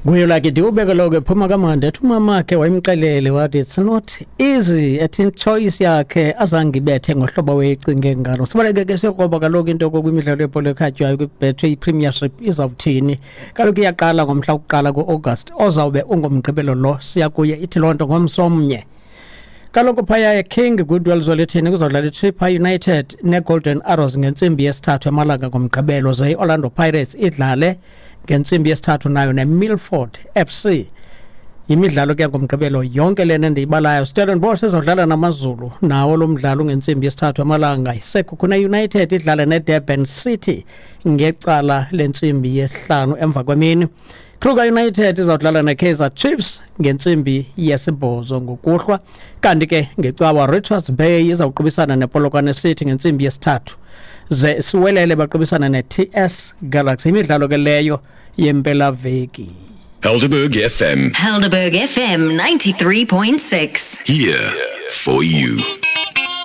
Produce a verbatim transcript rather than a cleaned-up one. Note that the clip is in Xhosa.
Nguye like ndiwubeke lo ke phuma kamandi, ethi umamakhe wayemxelele wathi it's not easy, ethi choice yakhe azange ibethe ngohlobo wayecinge ngalo. Sibaleke ke siyokroba kaloku into kwimidlalo yebhola ekhatywayo kwiBetway Premiership izawuthini. Kaloku iyaqala ngomhla wokuqala ku-August ozawube ungomgqibelo lo siya kuye, ithi loo nto ngomsomnye. Kaloku phaya eKing Goodwill Zwelithini kuzawudlala iChippa United neGolden Arrows ngentsimbi yesithathu emalanga ngomgqibelo, ze i-Orlando Pirates idlale ngentsimbi yesithathu nayo neMilford F C. Yimidlalo ke ngomgqibelo yonke lena endiyibalayo. Stellenbosch izawudlala naMaZulu, nawo lo mdlalo ngentsimbi yesithathu emalanga. Sekhukhune United idlale neDurban City ngecala lentsimbi yesihlanu emva kwemini. Kruger United izawudlala neKaizer Chiefs ngentsimbi yesibhozo ngokuhlwa. Kanti ke ngecawa Richards Bay izawuqubisana nePolokwane City ngentsimbi yesithathu, ze siwelele baqubisana ne-T S Galaxy. Imidlalo ke leyo yempelaveki. Helderberg F M. Helderberg F M ninety-three point six. Here for you.